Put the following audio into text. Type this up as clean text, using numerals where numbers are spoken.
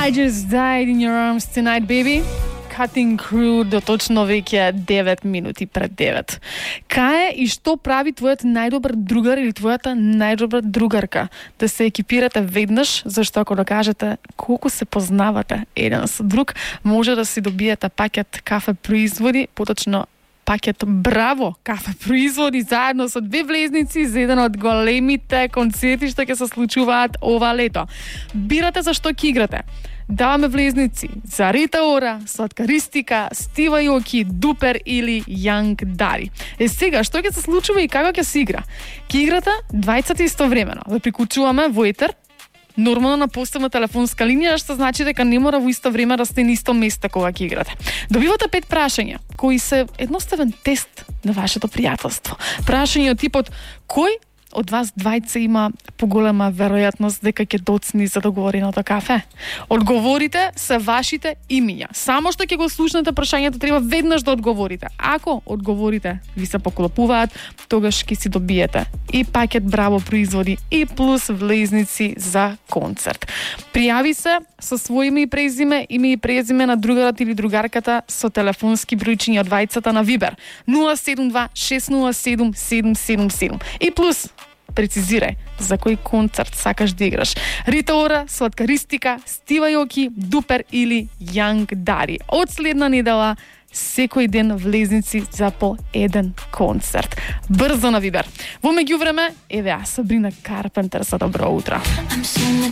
I just died in your arms tonight, baby. Cutting Crew до точно веќе 9 минути пред 9. Кај и што прави твојот најдобар другар или твојата најдобра другарка да се екипирате веднаш, зашто ако да кажете колку се познавате еден со друг, може да си добиете пакет кафе производи, поточно пакет Браво кафе производи заедно со 2 влезници за еден од големите концерти што ќе се случуваат ова лето. Бирате за што ќе играте. Даваме влезници за Рита Ора, Сладкаристика, Стива Јоки, Дупер или Јанг Дари. Сега, што ќе се случува и како ќе се игра? Ќе играте двајцата истовремено. Ве приклучуваме во етер, нормално на посебна телефонска линија, што значи дека не мора во исто време да сте на исто место кога ќе играте. Добивате 5 прашања, кои се едноставен тест на вашето пријателство. Прашања од типот: кој од вас двајца има поголема веројатност дека ќе доцни за договореното кафе? Одговорите се вашите имиња. Само што ќе го слушнете прашањето, треба веднаш да одговорите. Ако одговорите ви се поклопуваат, тогаш ќе си добиете и пакет Браво производи и плюс влезници за концерт. Пријави се со свој име и презиме на другарот или другарката со телефонски бројчиња од двајцата на Вибер 072 607 777 и плюс прецизирај за кој концерт сакаш да играш. Рита Ора, Сладкаристика, Стива Јоки, Дупер или Јанг Дари. Од следна недела секој ден влезници за по еден концерт. Брзо на Вибер. Во меѓувреме, еве ја Сабрина Карпентер за добро утро.